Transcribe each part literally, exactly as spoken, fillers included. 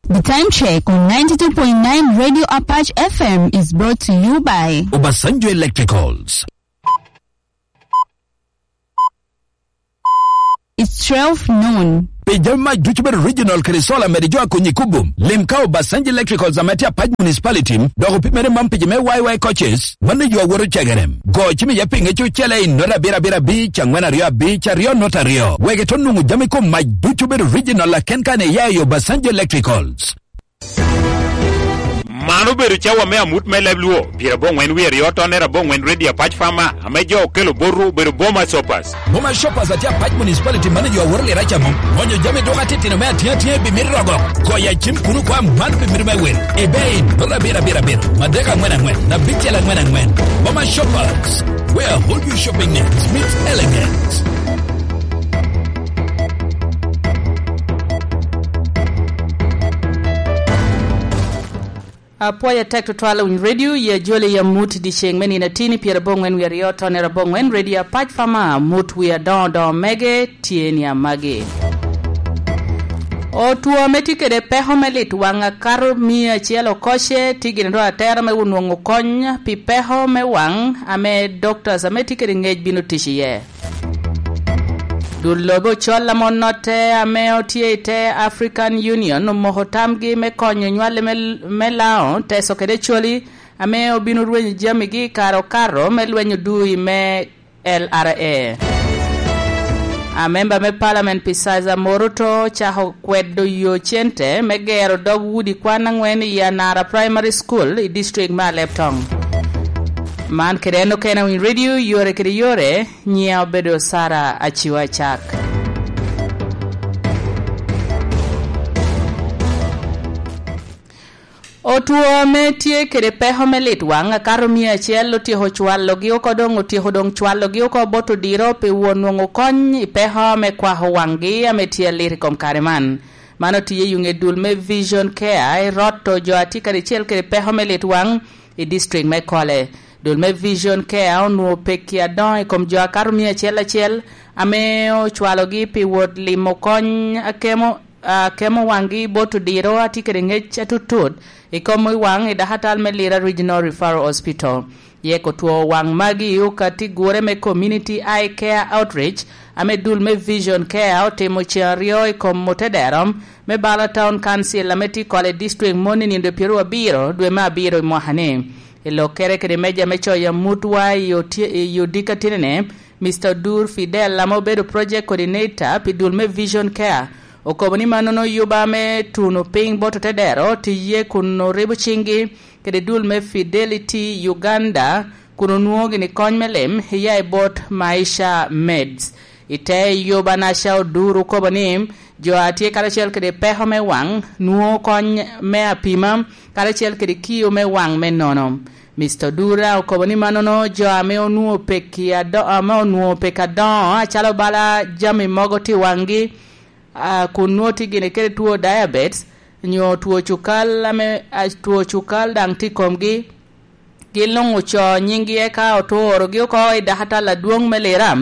The time check on ninety-two point nine Radio Apache F M is brought to you by Obasanjo Electricals. It's twelve noon. Pi jami mac ducu bedo regional kede solar mede jo a konyi kubo. Lim ka Obasanjo Electricals ame tye Apac Municipality, dok opimere man pi jo me Y Y coaches, mano jo a woto cegere. Go cim iye pi ŋec ocele i nota abiro abiro abic, angwen aryo abic, aryo nota aryo. Wek ito nwoŋo jami kom mac ducu bedo regional aken kan iya i Obasanjo Electricals. Man obedo cawa me amut me leb Luo, pyerabongwen wie aryo tonere abongwen Redio Apac Fama, ame jo okelo botwu obedo Boma Shoppers. Boma Shoppers atye Apac Municipality manager a woro lira camo. Onyo jami dok atitino me atye atye bi mito rogo. Goya cim kuno kwa man bi mito me wil. Ebay, nota abiro abiro abiro, madek angwen angwen, abicel angwen angwen. Boma Shoppers, where all your shopping needs meets elegance. Apwoyo atek tutwal winy redio, ya jole ya mut di ceng me nino atini pyerabongwen wie aryo tonere abongwen, redio Apac Fama, mut wie adoŋo doŋo mege, tye ni amagi. Otwo ame tye kede peko me lit waŋ akato mia acel okoce, tye gin ro atera me onwoŋo kony pi peko me waŋ ame doctors ame tye kede ŋec bino tic iye. Dul lobe ocol ame onotte ame otye i te African Union omoko tamgi me konyo nywale me, me Lao, teso kede coli ame obino rwenyo jamigi i kare okato me lweny odui me L R A. Amemba me Parliament Pisiza Moruto ocako kwedo yo cente me gero dog udi kwan angwen i Anara Primary School i district me Alebtong. Man kede en okene Winy Radio, yore kede yore. Nyiŋa obedo Sara Aciwa Acak. Otwo ame tye kede peko me lit waŋ akato mia acel otyeko cwalogi oko, doŋ otyeko doŋ cwalogi oko bot odiro pi won nwoŋo kony i peko me kwako waŋgi ame tye alit i kom kare man. Man otiye i ŋe dul me Vision Care i roto jo a tye karacel kede peko me lit waŋ i district me Kole. Dul me Vision Care onwoŋo pekki adoŋo i kom jo akato mia acel acel ame ocwalogi pi wot limo kony akemo, akemo waŋgi bot odiro a tye kede ŋec atutut i kom i waŋ i dakatal me Lira Regional Referral Hospital. Yek otwo waŋ magi i okatigure me Community Eye Care Outreach ame dul me Vision Care otimo ceŋ aryo i kom otedero me Bala Town Council ame tye i Kole District moni nino pyeraryo abiro dwe me abiro i mwaka-ni. I lokkere kede meja me coyo amutwa i otye-, i odiko atinine, Mister Odur Fidel ame obedo Project Coordinator pi dul me Vision Care, okobo ni mannono yuba me tuno piny bot otedero tye iye kun oribo ciŋgi kede dul me Fidelity Uganda, kun onwoŋo gini kony me lim iya i bot Maisha Meds. I te yuba Nasha Odur okobo ni jo a tye karacel kede peko me waŋ nwoŋo kony me apima karacel kede kio me waŋ me nono. Mister Odur okobo ni mannono jo ame onwoŋo pekki ado-, ame onwoŋo pek adoŋo acalo bala jami mogo tye i waŋgi, a, kun nwoŋo tye gini kede two diabetes, nyo two cukal ame, a, two cukal daŋ tye i komgi, gin luŋ ocoo nyiŋgi eka otorogi oko i dakatal adwoŋ me Lira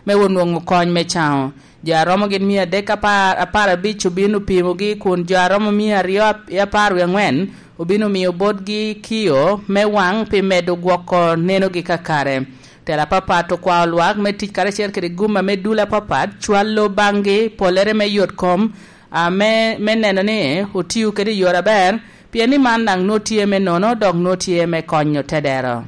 me onwoŋo kony me caŋo. Jo a romo gin mia adek apar, apar abic obino pimogi, kun jo a romo mia aryo ap-, apar wie aŋwen obino miyo botgi kio me waŋ pi medo gwoko nenogi kakare. Tela apapat okwao lwak me tic karacel kede gum ame dul apapat cwalo baŋgi pollere me yot kom, a, me, me neno ni otio kede i yore aber, pien ni man daŋ nwoŋo tye me nono, dok nwoŋo tye me konyo tedero.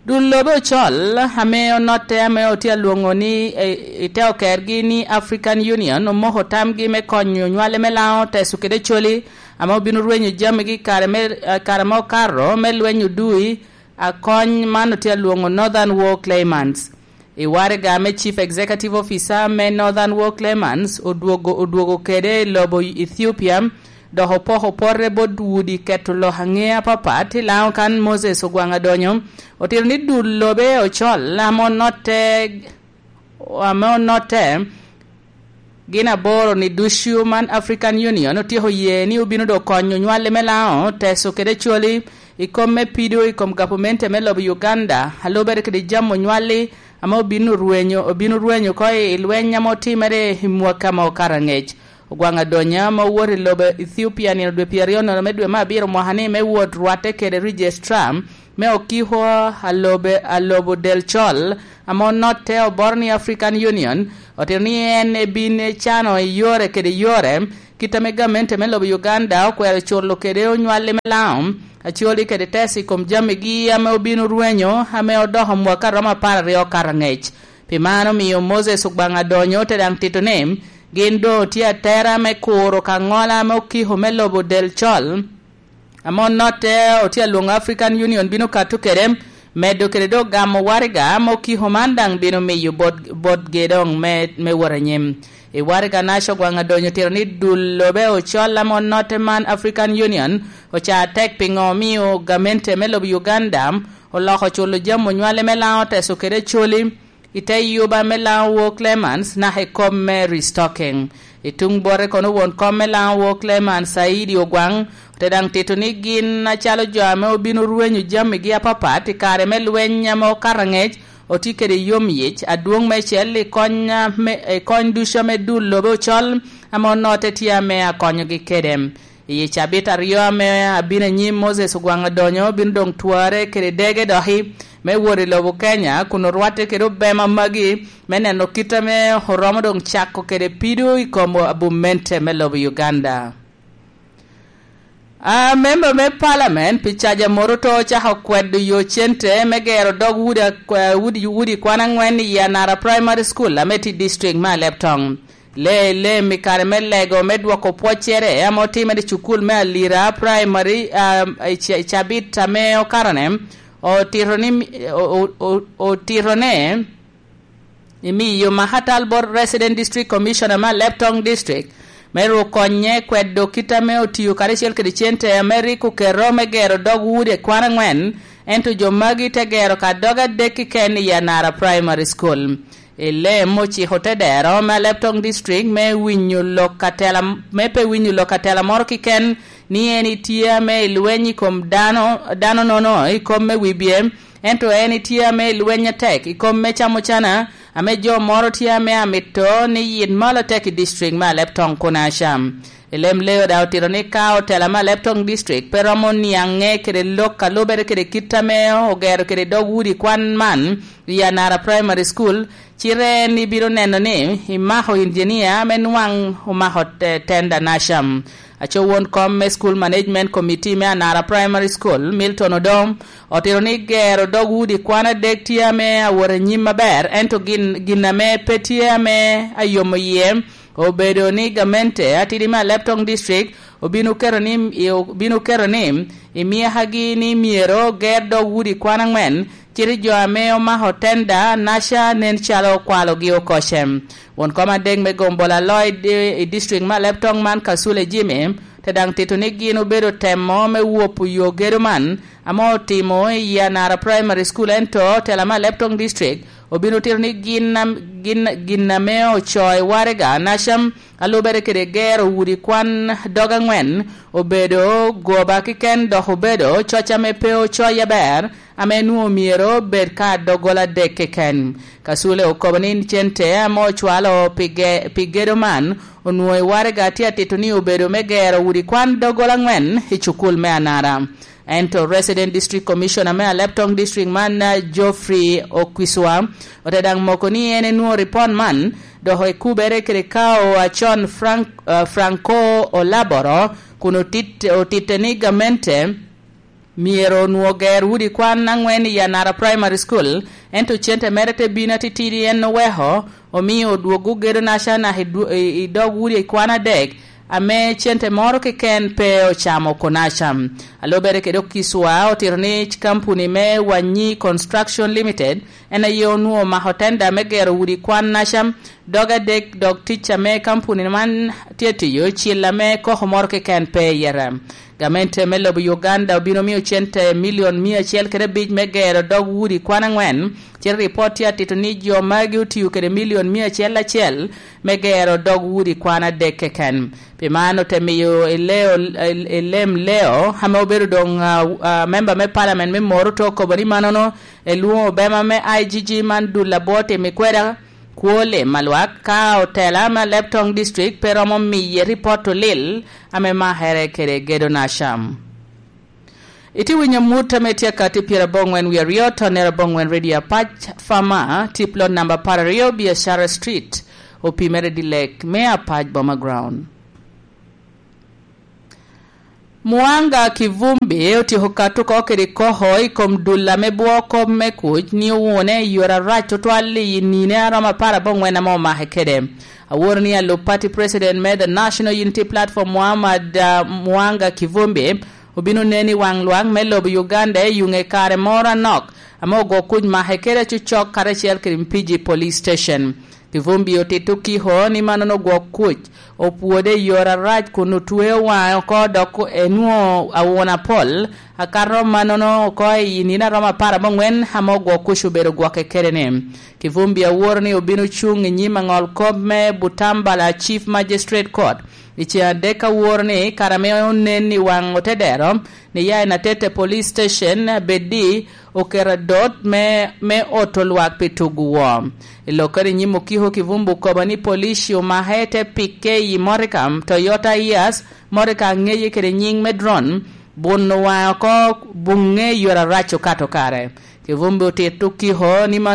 Dul lobe ocol, ame onotte, ame otye alwoŋo ni, e, i te okergi ni African Union, omoko tamgi me konyo nywale me Laŋo, teso kede coli, ame obino rwenyo jamigi kare me, eh, kare ma okato me lweny odui, a kony man otye alwoŋo Northern War Claimants. I waraga me Chief Executive Officer me Northern War Claimants odwogo, odwogo kede i lobo Ethiopia, dok opoko pote bot udi keto lok aŋe apapat i Laŋo kan Moses Ogwaŋ Adonyo, otito ni dul lobe ocol ame onotte, ame onotte gin aboro ni ducu man African Union otyeko ye ni obino dok konyo nywale me Laŋo, teso kede coli i kom me pido i kom gavumenti me lobo Uganda, a lubere kede jamo nywali ame obino rwenyo, obino rwenyo oko i lweny ame otimere i mwaka ame okato aŋec. Ogwaŋ Adonya ma owoto i lobo Ethiopia nino dwe pyeraryo nono me dwe me abiro mwaka ni me wot rwatte kede Registrar me okiko alobe, alobo del col ame onotte oboro ni African Union, otito ni en ebin ecano i yore kede yore kit ame gamente me lobo Uganda okwero culo kede onywalli me Laŋo, Acholi kede Teso i kom jamigi ame obino rwenyo ame odoko mwaka romo apar aryo okato angec. Pi man omio Moses Ogwaŋ Adonyo te daŋ tito ni gin doŋ otye atera me kuro ka ŋola ame okiko me lobo del col ame onotte otye alwoŋo African Union bino kato kede, medo kede dok gamo waraga ame okiko man daŋ bino miyo bot, botgi doŋ me, me wot anyim. I waraga naca Ogwaŋ Adonyo otito ni dul lobe ocol ame onotte man African Union oca tek piŋo omio gamente me lobo Uganda oloko culo jami onywale me Laŋo, Teso kede Acholi i te yuba me Laŋo War Clements naka i kom me restocking. I tuŋ bote kono won kom me Laŋo War Clements Saidi Ogwaŋ ote daŋ tito ni gin acalo jo ame obino rwenyo jamigi apapat i kare me lweny ame okato angec otye kede yom yic adwoŋ meicel i kony, a, me, i kony ducu ame dul lobe ocol ame onotte tye ame akonyogi kede. I cabit aryo ame abino anyim Moses Ogwaŋ Adonyo bino doŋ twarre kede dege doki me wot i lobo Kenya kun orwatte kede obema magi me neno kit ame oromo doŋ cako kede pido i kom abumente me lobo Uganda. A memba me palamen pi caja moto to ocako kwedo yo cente me gero dog udi akwa-, udi, udi kwan angwen i Yanara Primary School ame tye i district me Alebtong. Lee, lee i kare me lego me dwoko pwoccere ame otimere i cukul me Alira Primary, a, i ca-, i cabit ame okatone, otito ni mi-, o-, o-, o-, otito ne imiyo Mahatal bot Resident District Commissioner me Alebtong District me ru konye kwedo kit ame otio karacel kede cente ame rik oketo me gero dog udi kwan angwen, ento jo magi te gero ka dog adek keken i Yanara Primary School. Elem ociko te dero me Alebtong District me winyo lok atela, me pe winyo lok atela moro keken ni en itye ame i lweny i kom dano, dano nono i kom me wibye, ento en itye ame i lweny atek i kom me camo cana, ame jo moro tye ame amito ni yit malo atek i district me Alebtong kun acam. Elem Leo daŋ otito ni ka otela me Alebtong District pe romo niaŋe kede lok a lubere kede kit ame ogero kede dog udi kwan man i Anara Primary School, cite en ibino neno ni imako injinia ame nwaŋ omako te-, tenda nacam. Aco won kom me School Management Committee me Anara Primary School, Milton Odom, otito ni gero dog udi kwan adek tye ame awot anyim aber, ento gin, gin ame pe tye ame ayomo yie obedo ni gamente atidi me Alebtong District obino keto ni, obino keto ni i myakagi ni myero ger dog udi kwan angwen, cite jo ame omako tenda naca nen calo okwalogi oko cem. Won kom adek me Gombola Lloyd i, i district me Alebtong man Kasule Jimmy te daŋ tito ni gin obedo temo me wopo yo gedo man ame otimo i Anara Primary School, ento tela me Alebtong District obino tito ni gin am-, gin, gin ame ocoo i waraga nacam, a lubere kede gero udi kwan dog angwen, obedo goba keken dok obedo coc ame pe ocoye aber, ame nwoŋo myero bed ka doggola adek keken. Kasule okobo ni cente ame ocwalo pi ge-, pi gedo man onwoŋo i waraga tye atito ni obedo me gero udi kwan doggola angwen i cukul me Anara. Ento Resident District Commissioner me Alebtong District man, uh, Geoffrey Okwiswa, ote daŋ moko ni en enwoŋo ripot man, dok ekubere kede kao acon Frank-, uh, Franco Olaboro, kun otit-, otitte ni gamente myero onwoŋo ger udi kwan angwen i Anara Primary School, ento cente mere te bino atitidi en oweko, omio odwoggo gedo naca naka i dwo-, i, i dog udi kwan adek, ame cente moro keken pe ocamo oko naca. A lubere kede Okiswa otito ni kampuni me Wanyi Construction Limited en aye onwoŋo omako tenda me gero udi kwan naca dog adek, dok tic ame kampuni man tye tiyo cil ame koko moro keken pe iye. Gamente me lobo Uganda obino miyo cente milion mia acel kede abic me gero dog udi kwan angwen, cite ripot tye atito ni jo magi otiyo kede milion mia acel acel me gero dog udi kwan adek keken. Pi man ote miyo Eleo, Elem Leo, ame obedo doŋ, ah, ah, memba me palamen me Moroto, okobo ni mannono elwoŋo obema me I G G man dul abwo timo i kweda, Kwo lim a lwak ka otela me Alebtong District pe romo miye ripot olil ame makere kede gedo Nasham. Itye winyo mut ame tye akati pyerabongwen wie aryo, tonero abongwen Radio Apac, Fama, tip lot namba apar aryo, Biashara Street, opimere dilek me Apac Boma Ground. Mwanga Kivumbi otyeko kato oko kede koko i kom dul ame bwo kop me kuc ni owune i yore arac tutwal i nine a romo apar abongwen ame omake kede. Aworo ni alub party president me The National Unity Platform, Muhammad, ah, Mwanga Kivumbi, obino nen i waŋ lwak me lobo Uganda i yuŋe kare moro anok ame ogwo kuc make kede acocok karacel kede Mpiji Police Station. Kivumbi otito kiko ni mannono ogwok kuc opwode i yore arac kun otweo waŋe oko dok enwoŋo awuna pol, akato mannono oko i nino a romo apar abongwen ame ogwok kuc obedo gwokke kede-ni. Kivumbi aworo ni obino cuŋ i nyim aŋol kop me Butambala Chief Magistrate Court i ceŋ adek aworo ni kare ame onen i waŋ otedero ni ya i Natete Police Station abeddi oketo adot me, me oto lwak pi tugo woo. I lokkere i nyim okiko Kivumbi okobo ni polici omake te pikke i motoka Toyota Hiace, motoka aŋeye kede nyiŋ me Drone, buno waŋe oko buŋe i yore arac okato kare. Kivumbi otito okiko ni